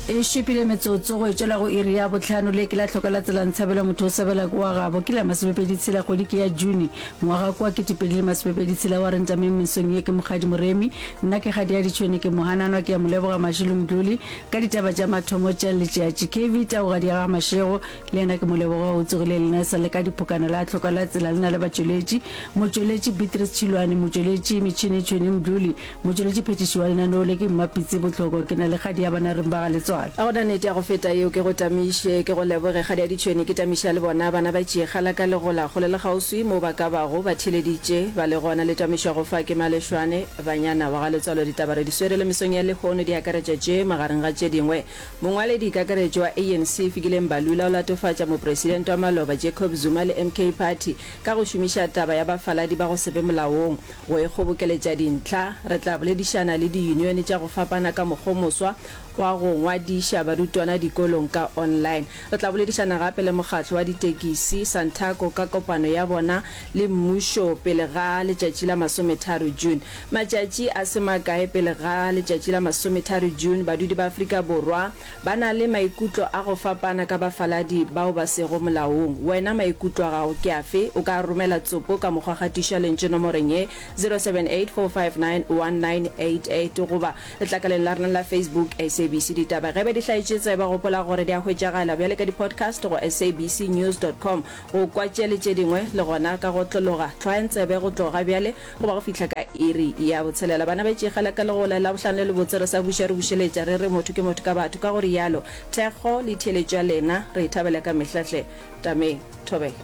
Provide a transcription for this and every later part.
E šupile metsotso go e tšwela go iri ya bohlano. Le ke la hloka la tsela ntshabela motho o sebela ke wa gabo. Ke la masomepedi tshela kgwedi ke ya June ngwaga kwa 2026 wa re ntameng mesong ye ke Mokgadi Moremi. Nna ke Kgadi ya Ditšhwene ke Mohananwa ke ya Moleboga Mashilo Mdluli ka ditaba tša mathomo tša letšatši. KV Taugadi ya ga Mashego le yena ke Moleboga o tsogile lena sa le ka diphokana la hloka la tsela le na le batšweletši motšweletši Beatrice Tšhilwane motšweletši Metšhene Tšhwene Mdluli Motšweletši phethiši wa lenaneo le ke Mmapitsi Bohloko. Ke na le kgadi ya bana reng ba ga Letswalo. Ga go na nnete ya go feta yeo, ke go tamiše, ke go leboge kgadi ya ditšhwene, ke tamiša le bona bana ba tšee la ka legola kgole le kgauswi moo ba ka bago ba theeleditše ba le gona. Le tamišwago fa ke Malešwane Banyana wa ga Letswalo. Ditaba re di swere le mesong ya lehono di akaretša tše magareng ga tše dingwe. Mongwaledi kakaretšo wa ANC Fikile Mbalula o latofatša mopresidente wa maloba Jacob Zuma le MK Party ka go šomiša taba ya bafaladi ba go se be molaong Go ikgobokeletša dintlha, re tla boledišana le diyunione tša go fapana ka mokgomoswa wa go ngwadiša barutwana dikolong ka online. Re tla boledišana gape le mokgatlo wa ditekisi, Santaco, ka kopano ya bona le mmušo pele ga letšatši la masometharo June. Matšatši a se makae pele ga letšatši la masometharo June, badudi ba Afrika Borwa Ba na le maikutlo a go fapana ka bafaladi bao ba sego molaong. Wena maikutlo a gago ke afe? O ka romela tsopo ka mokgwa gatiša lentšu nomoreng ye, 0784591988 goba letlakaleng la rena la Facebook, SABC Ditaba. Ge be di hlaetše tsebe, gopola gore di a hwetšagala bjale ka di-podcast go sabcnews dot com go kwa tše le tše dingwe le gona ka go otlologa. Hlwayang tsebe go tloga bjale Go ba go fihla ka iri ya botshelela, bana ba tšegela ka legola Labohlano le lebotse re sa buša re bušeletša re re motho ke motho ka batho. Ka go rialo, thekgo le theeletšo ya lena re e thabela ka mehla hle. Tameng. Thobela.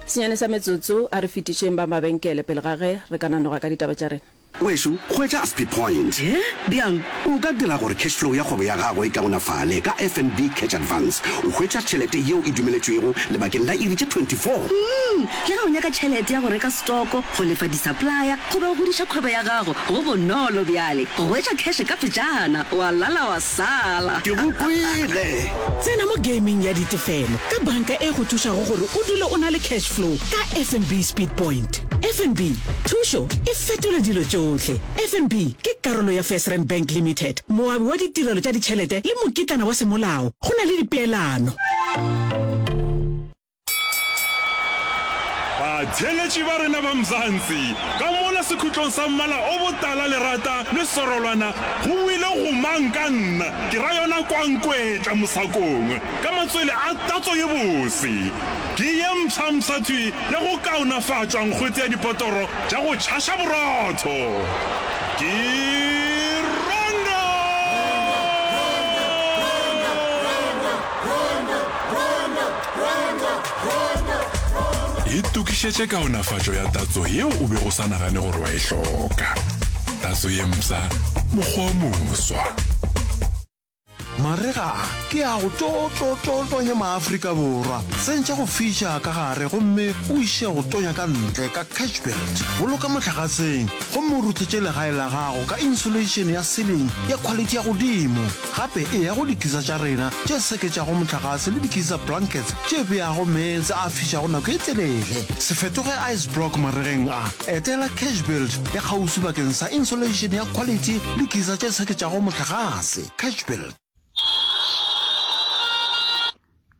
Senyane sa metsotso, a re fetišeng ba mabenkele pele ga ge re ka nanoga ka ditaba tša rena. Wešo, hwetša Speed Point. He? Bjang? O ka dira gore cash flow ya kgwebo ya gago e kaonafale ka FNB Cash Advance. O hwetša tšhelete yeo e dumeletšwego lebakeng la iri tše 24. Umm, le ge o nyaka tšhelete ya go reka setoko, go lefa di-supplier goba go godiša kgwebo ya gago, go bonolo bjale go hwetša cash ka pejana, wa lala wa sala. Ke go kwele! Tsena mo gaming ya ditefelo ka banka e go thušago gore o dule o na le cash flow ka FNB Speed Point. FNB, thušo e fetola dilo tšohle. FNB ke karolo ya FirstRand Bank Limited, moabi wa ditirelo tša ditšhelete le mokitlana wa semolao. Go na le dipeelano. Batheeletši ba rena ba Mzansi, ka mola sekhutlong sa mmala o botala lerata le serolwana go boile gomang ka nna, ke ra yona kwankwetla mosakong ka matswele a tatso ye bose. Ke ye mpshampsha thwi ya go kaonafatšwa nkgwete ya dipotoro tša go tšhaša borotho. Ke Rondo! Itokišetše kaonafatšo ya tatso yeo o bego o sa nagane gore wa e hloka. Tatso ye mpsha, mokgwa o moswa. Marega a ke a go tlo tlo tlo tonya maAfrika Borwa. Tsentšha go fiša ka gare gomme o iše go tonya ka ntle ka Cashbuild. Boloka mohlagaseng gomme o ruthetše legae la gago ka insulation ya ceiling ya khwalithi ya godimo. Gape eya go dikisa tša rena tše seketšago mohlagase le dikisa blankets tše beago meetse a fišago nako e telele. Se fetoge ice block maregeng a. Etela Cashbuild ya kgauswi bakeng sa insulation ya khwalithi le geyser tše seketšago mohlagase. Cashbuild.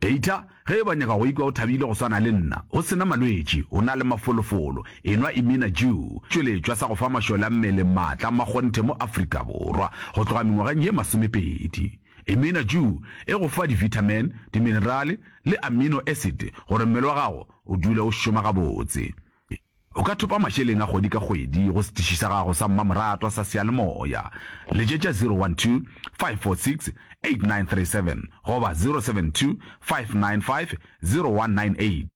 Data, Ge e ba nyaka go ikwa o thabile go swana le nna, o se na malwetši, o na le mafolofolo, enwa Imina Dew, tšweletšwa sa go fa mašole a mmele maatla a makgonthe mo Afrika Borwa go tloga mengwageng ye masomepedi. Imina Dew e go fa di-vitamin, diminerale le amino acid gore mmele wa gago o dule o šoma gabotse. O ka thopa mašeleng a kgwedi ka kgwedi go setiši sa gago sa mmamoratwa sa seyalemoya. Letšetša 012 546 8937 goba 072 595 0198.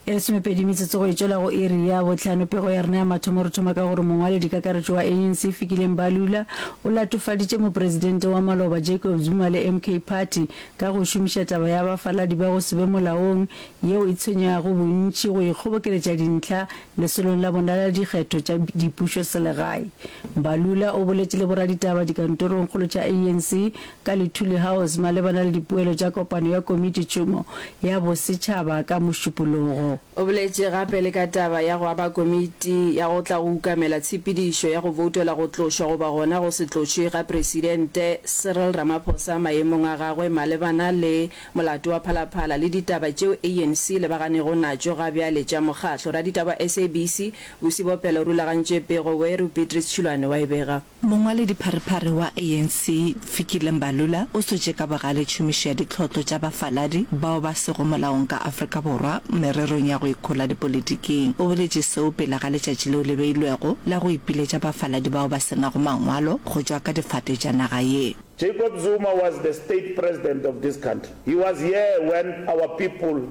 E lesomepedi metsotso go e tšwela go iri ya bohlano. Pego ya rena ya mathomo re thoma ka gore mongwaledikakaretšo wa ANC Fikile Mbalula o latofaditše mopresidente wa maloba Jacob Zuma le MK Party ka go šomiša taba ya bafaladi ba go se be molaong yeo e tshwenyago bontši go ikgobokeletša dintlha lesolong la bona la dikgetho tša dipušoselegae. Mbalula o boletše le boraditaba dikantorongkgolo tša ANC ka Luthuli House malebana le dipoelo tša kopano ya komititšhomo ya bosetšhaba ka Mošupologo. Modimo. O boletše gape le ka taba ya go aba komiti ya go tla go ukamela tshepedišo ya go voutela go tlošwa goba gona go se tlošwe ga Presidente Cyril Ramaphosa maemong a gagwe malebana le molato wa Phalaphala le ditaba tšeo ANC e lebaganego natšo ga bjale tša mokgatlo. Raditaba wa SABC, Busi Bopelo o rulagantše pego, Weru Beatrice Tšhilwane wa e bega. Mongwaledipharephare wa ANC, Fikile Mbalula, o sotše ka bogale tšhomišo ya ditlhotlo tša bafaladi bao ba sego molaong ka Afrika Borwa mererong ya go ikhola dipolitiking. O boletše seo pele ga letšatši leo le beilwego la go ipiletša bafaladi bao ba se nago mangwalo go tšwa ka difate tša naga ye. Jacob Zuma was the state president of this country. He was here when our people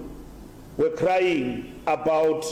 were crying about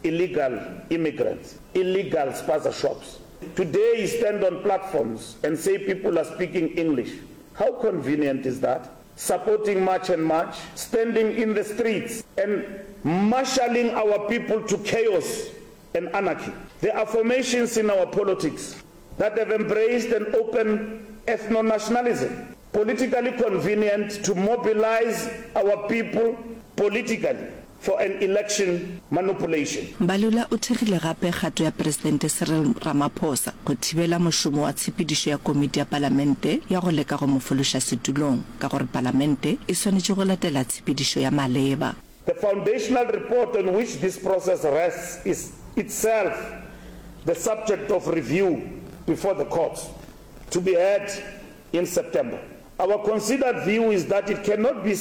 illegal immigrants, illegal spaza shops. Today he stand on platforms and say people are speaking English. How convenient is that? Supporting March and March, standing in the streets and marshalling our people to chaos and anarchy. There are formations in our politics that have embraced an open ethno-nationalism, politically convenient to mobilize our people politically for an election manipulation. Mbalula o thekgile gape kgato ya Presidente Cyril Ramaphosa go thibela mošomo wa tshepedišo ya komiti ya palamente ya go leka go mo fološa setulong ka gore palamente e swanetše go latela tshepedišo ya maleba. The foundational report on which this process rests is itself the subject of review before the courts, to be heard in September. Our considered view is that it cannot be.